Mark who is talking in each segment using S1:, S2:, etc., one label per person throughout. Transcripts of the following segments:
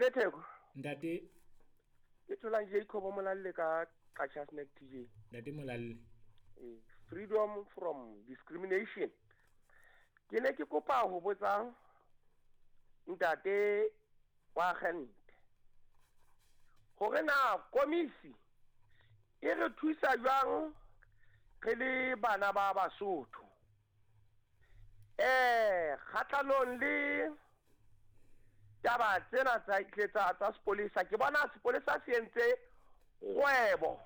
S1: Ntate Theko.
S2: Ntate.
S1: Ke tholang Jacob Molalle ka Qacha's Nek TJ.
S2: Ntate Molalle.
S1: Freedom from discrimination. Ke ne ke kopa ho botsa ntate wa agente hore na komisi e re thusa jwang re le bana ba Basotho kgahlanong le taba tsena tsa sepolesa. Ke bona sepolesa se entse kgwebo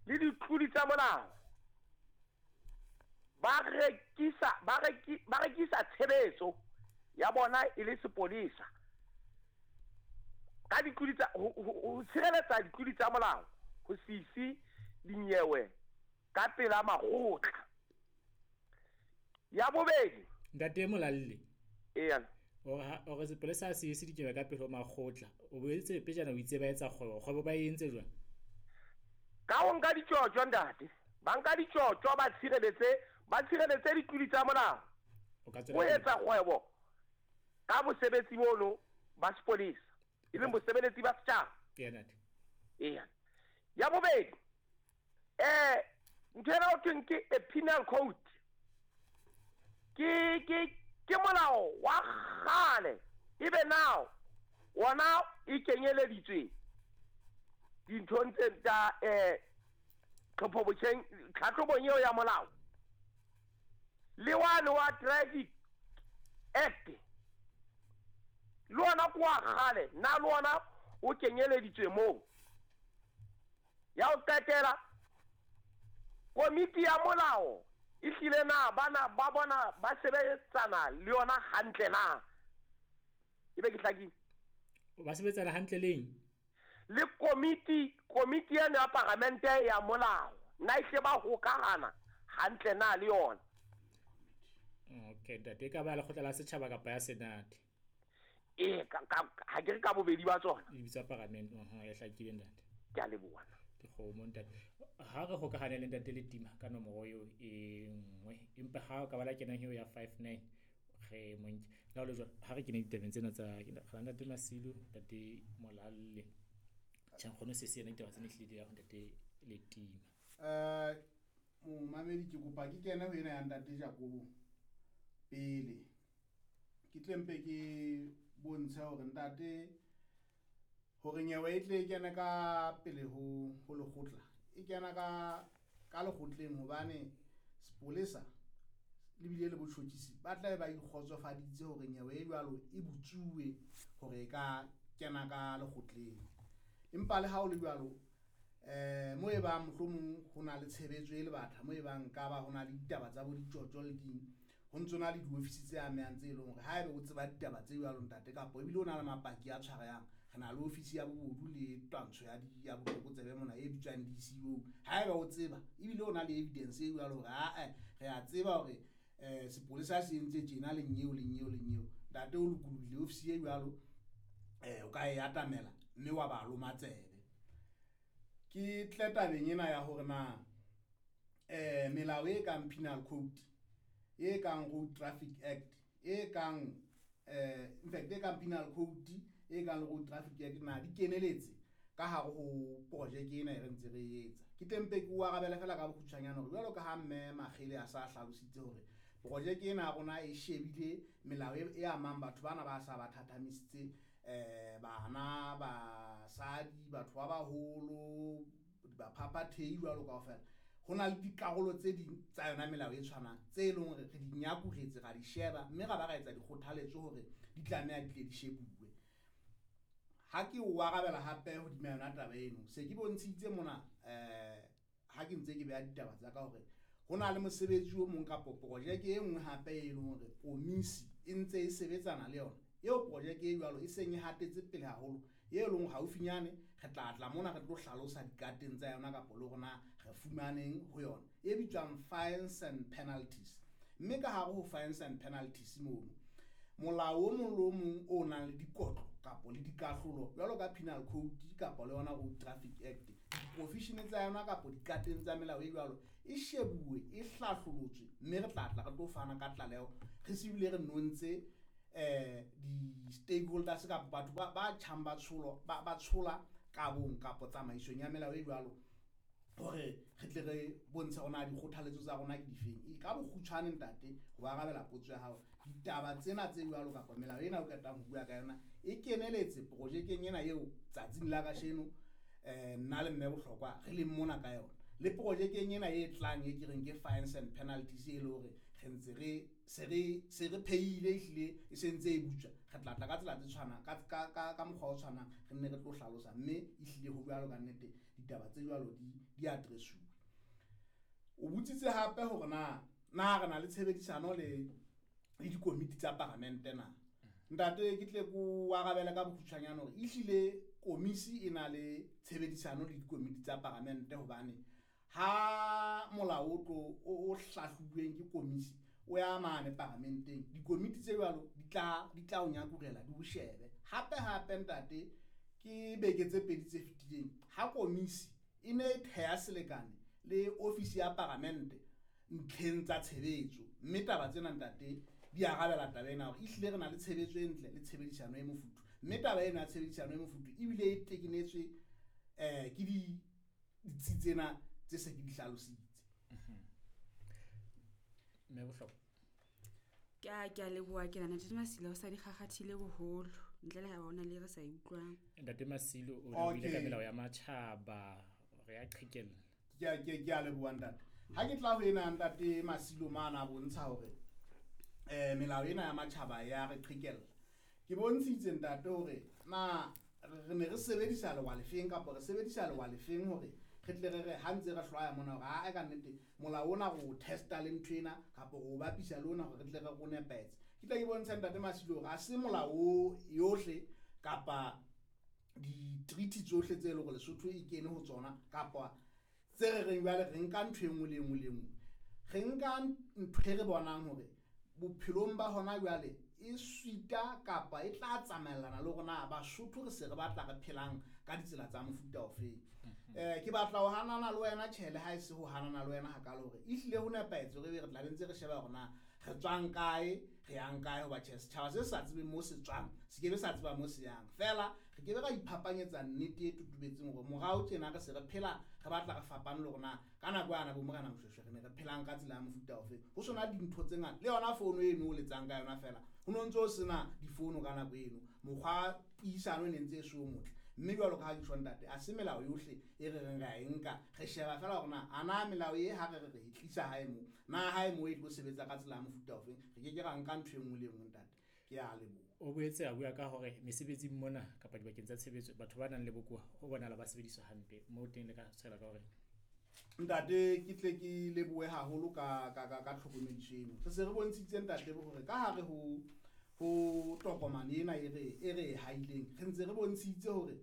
S1: le ditlodi tsa molao, ba rekisa tshebetso ya bona e le sepolesa ka ditlodi tsa ho tshireletsa ditlodi tsa molao ho se ise dinyewe ka pela makgotla. Ya bobedi,
S2: Ntate Molalle.
S1: Eya.
S2: Ore sepolesa se ise dinyewe ka pele ho makgotla. O boetse pejana o itse ba etsa kgwebo. Kgwebo ba e entse jwang?
S1: Ka ho nka ditjotjo ntate. Ba nka ditjotjo ba tshireletse ditlodi tsa molao. O etsa kgwebo ka bosebetsi bono ba sepolesa, e leng bosebeletsi ba setjhaba.
S2: Eya ntate.
S1: Eya. Ya bobedi, ntho ena ho thweng ke a penal code. Ke molao wa kgale, ebe now wona e kenyeleditswe dinthong tse tsa tlhatlhobong eo ya molao. Le wane wa Traffic Act le ona ke wa kgale, na le ona o kenyeleditswe moo. Ya ho qetela, komiti ya molao e hlile na bana ba bona ba sebetsana le yona hantle na? Ebe ke hlakile?
S2: Ba sebetsana hantle leng?
S1: Le komiti eno ya paramente ya molao, na ehle ba hokahana hantle na le yona?
S2: Okay, ntate, ka ba lekgotla la setjhaba kapa ya senate?
S1: Ha ke re ka bobedi ba tsona.
S2: E bitswa paramente, ya hlakile ntate.
S1: Ke a leboha.
S2: Ke kgomo ntate. Ha re hokahane le ntate Letima ka nomoro eo e nngwe, empa ha o ka ba la kenang eo ya 59 re monke. Le ha ho le jwalo, ha re kene ditabeng tsena tsa ga ntate Masilu, ntate Molalle. Tjhe, nkgono se se yena ditaba tsena ehlile ya ho ntate Letima.
S3: Momamedi, ke kopa ke kene ho ena ya ntate Jakobo pele. Ke tle mpe ke bontshe hore ntate hore nyewe e tle e kene ka pele ho lekgotla. E kena ka lekgotleng hobane sepolesa le bile le botjhotjhisi ba tla ba ikgotsofaditse hore nyewe e jwalo e butsuwe hore e ka kena ka lekgotleng. Empa le ha o le jwalo, mo e bang mohlomong ho na le tshebetso e le batha, mo e bang ka ba ho na le ditaba tsa bo ditjotjo le ding, ho ntso na le diofisi tse amehang tse leng hore haebe o tseba ditaba tse jwalo ntate, kapa ebile o na le mapaki a tshwarehang, re na le ofisi ya bobodu le twantsho ya botlokotsebe mona e bitswang DCO. Haeba o tseba ebile o na le evidence e jwalo hore ae re a tseba hore sepolesa se entse tjena le nyeo le nyeo le nyeo, ntate o lokolohile ofisi e jwalo, o ka e atamela mme wa ba loma tsebe. Ke tle tabeng ena ya hore na melao e kang Penal Code, e kang Road Traffic Act, e kang in fact e kang Penal Code, e kang Road Traffic Act na di keneletse ka hare ho projeke ena e re ntse re etsa. Ke tle mpe ke o arabele fela ka bokgutshwanyane hore jwalo ka ha mme Makgele a sa hlalositse hore projeke ena ya rona e shebile melao e amang batho bana ba sa ba thathamisitse, bana, basadi, batho ba baholo, baphaphathehi jwalo kaofela. Ho na le dikarolo tse ding tsa yona melao e tshwanang tse leng hore re di nyakuretse, ra di sheba mme ra ba ra etsa dikgothaletso hore di tlameha di tle di shebuwe. Ha ke o arabela hape hodima yona taba eno, se ke bontshitse mona ha ke ntse ke beha ditaba tsa ka hore ho na le mosebetsi o mong kapo projeke e nngwe hape e leng hore komisi e ntse e sebetsana le yona. Eo projeke e jwalo e seng e hatetse pele haholo, e leng haufinyane re tla tla mona re tlo hlalosa dikateng tsa yona kapo le rona re fumaneng ho yona, e bitswang fines and penalties. Mme ka hare ho fines and penalties mono, molao o mong le o mong o nang le dikotlo kapo le dikahlolo jwalo ka Penal Code kapo le yona Road Traffic Act, diprofeshene tsa yona kapo dikateng tsa melao e jwalo e shebuwe, e hlahlolotswe, mme re tla tla re tlo fana ka tlaleho re se bile re nontse Di-stakeholders kapa batho ba tjhang ba tsholo ba tshola kabong kapa tsamaisong ya melao e jwalo, hore re tle re bontshe hore na dikgothaletso tsa rona ke difeng. E ka bokgutshwane ntate, ho arabela potso ya hao, ditaba tsena tse jwalo kapa melao ena o qetang ho bua ka yona e keneletse projekeng ena eo tsatsing la kasheno, nna le mme Bohlokwa re leng mona ka yona, le projekeng ena e tlang e ke reng ke fines and penalties, e le hore re ntse re se re se re phehile, ehlile e sentse e butswa. Re tla tla ka tsela tse tshwanang ka mokgwa o tshwanang, re nne re tlo hlalosa, mme ehlile ho jwalo ka nnete ditaba tse jwalo di address-uwe. O botsitse hape hore na re na le tshebedisano le dikomiti tsa paramente na. Ntate, ke tle ko arabele ka bokgutshwanyane hore ehlile komisi e na le tshebedisano le dikomiti tsa paramente, hobane ha molao o tlo o hlahlobuweng ke komisi o ya mane paramenteng, dikomiti tse jwalo di tla o nyakurela, di o shebe. Hape hape ntate, ke beke tse pedi tse fetileng ha komisi e ne e theha selekane le ofisi ya paramente ntlheng tsa tshebetso, mme taba tsena ntate di arabela taba ena hore ehlile re na le tshebetso e ntle le tshebedisano e mofuthu, mme taba ena ya tshebedisano e mofuthu ebile e tekenetswe ke ditsi tsena tse se ke di hlalositse.
S2: Mme Bohlokwa.
S4: Ke a leboha. Ke nahana Ntate Masilo o sa di kgakgathile boholo, ntle le ha ona le re sa e utlwang.
S2: Ntate Masilo o ne o ile ka melao ya matjhaba, re ya qhekella.
S3: Ke a leboha ntate. Ha ke tla ho ena ntate Masilo mane a bontsha hore melao ena ya matjhaba ya re qhekella, ke bontshitse ntate hore na re ne re sebedisa lewa lefeng kapa re sebedisa lewa lefeng hore re tle re re ha ntse re hlwaya mona hore aa ka nnete molao ona re o testa le ntho ena kapa re o bapisa le ona hore re tle re o nepahetse. Ke tle ke bontshe ntate Masilo hore ha se molao o yohle kapa di-treaty tsohle tse leng hore Lesotho e kene ho tsona kapa tse re reng jwale re nka ntho e nngwe le e nngwe le e nngwe. Re nka ntho e re bonang hore bophelong ba hona jwale e suita kapa e tla tsamaellana le hore na Basotho re se re batla re phelang ka ditsela tsa mofuta ofeng. Ke batla ho hanana le wena, tjhele ha e se ho hanana le wena hakalo, hore ehlile ho nepahetse hore ebe re tla be ntse re sheba hore na re tswang kae, re yang kae, hoba tjhe, setjhaba se sa tsebeng mo se tswang se ke be sa tseba mo se yang. Feela re ke be ra iphapanyetsa nnete e totobetseng hore morao tjena re se re phela re batla re fapane le hore na ka nako yana bo Morena Moshweshwe re ne re phelang ka tsela ya mofuta ofe. Ho sona dintho tse ngata, le yona fono eno o letsang ka yona feela, ho no ntso sena difono ka nako eno, mokgwa puisano e ne ntse e se o motle. Mme jwalo ka ha ke tjho ntate, a se melao yohle e re reng re a e nka, re sheba feela hore na a na melao e ha re re re e tlisa hae mo, na hae mo e tlo sebetsa ka tsela ya mofuta ofeng. Re ke ke ra nka ntho e nngwe le e nngwe ntate. Ke a leboha.
S2: O boetse a bua ka hore mesebetsing mona kapa dibakeng tsa tshebetso batho ba nang le bokowa ho bonahala ba sebediswa hampe, moo teng le ka tshwela ka hore.
S3: Ntate, ke tle ke lebohe haholo ka tlhokomediso eno. Re se re bontshitse ntate hore ka hare ho tokomane ena e re e haileng, re ntse re bontshitse hore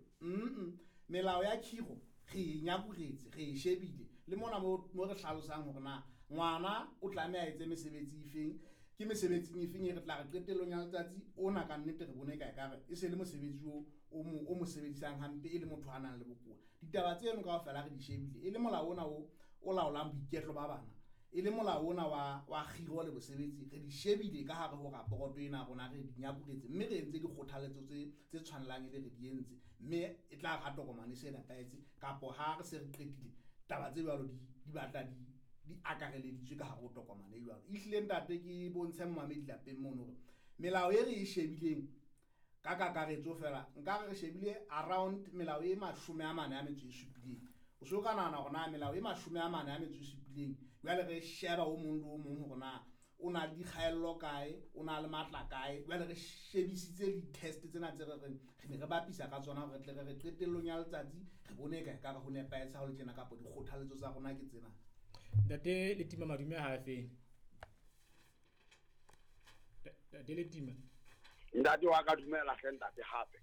S3: melao ya khiro re e nyakuretse, re e shebile le mona mo re hlalosang hore na ngwana o tlameha a etse mesebetsi efeng, ke mesebetsing efeng e re tla re qetellong ya letsatsi ona ka nnete re bone ka ekare e se le mosebetsi o mo sebedisang hampe e le motho a nang le bokowa. Ditaba tseno kaofela re di shebile, e le molao ona o laolang boiketlo ba bana, e le molao ona wa kgiro le bosebetsi, re di shebile ka hare ho raporoto ena ya rona, re di nyakuretse, mme re entse dikgothaletso tse tshwanelang e be re di entse, mme e tla re ha tokomane e se nepahetse kapo ha re se re qetile taba tse jwalo di batla di akareleditswe ka hare ho tokomane e jwalo. Ehlile ntate, ke bontshe momamedi lapeng mono hore melao e re e shebileng ka kakaretso fela, nka re re shebile around melao e 47, o so ka nahana hore na melao e 47, jwale re sheba o mong le o mong hore na o na le dikgaello kae, o na le matla kae. Jwale re shebisitse di-test tsena tse re reng re ne re bapisa ka tsona hore re tle re re qetellong ya letsatsi re bone ka ekare ho nepahetse ha ho le tjena kapa dikgothaletso tsa rona ke tsena.
S2: Ntate Letima, madume ha feng Ntate Letima?
S1: Ntate wa ka, dumela hle ntate hape.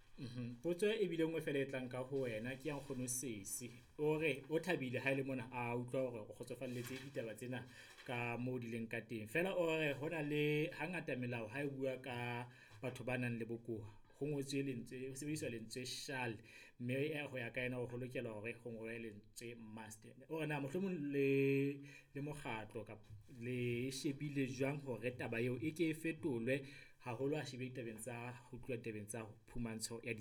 S2: Potso e bile nngwe fela e tlang ka ho wena ke ya nkgono Sesi, o re o thabile ha e le mona a utlwa hore o kgotsofalletse ditaba tsena ka moo di leng ka teng, fela o re ho na le hangata melao ha e bua ka batho ba nang le bokowa ho ngotswe lentswe, ho sebediswa lentswe shall, mme ho ya ka yena ho lokela hore ho ngolwe lentswe must. O re na mohlomong le mokgatlo kapa le shebile jwang hore taba eo e ke e fetolwe Haholo a shebile ditabeng tsa ho tluwa ditabeng tsa phumantsho ya ditshila.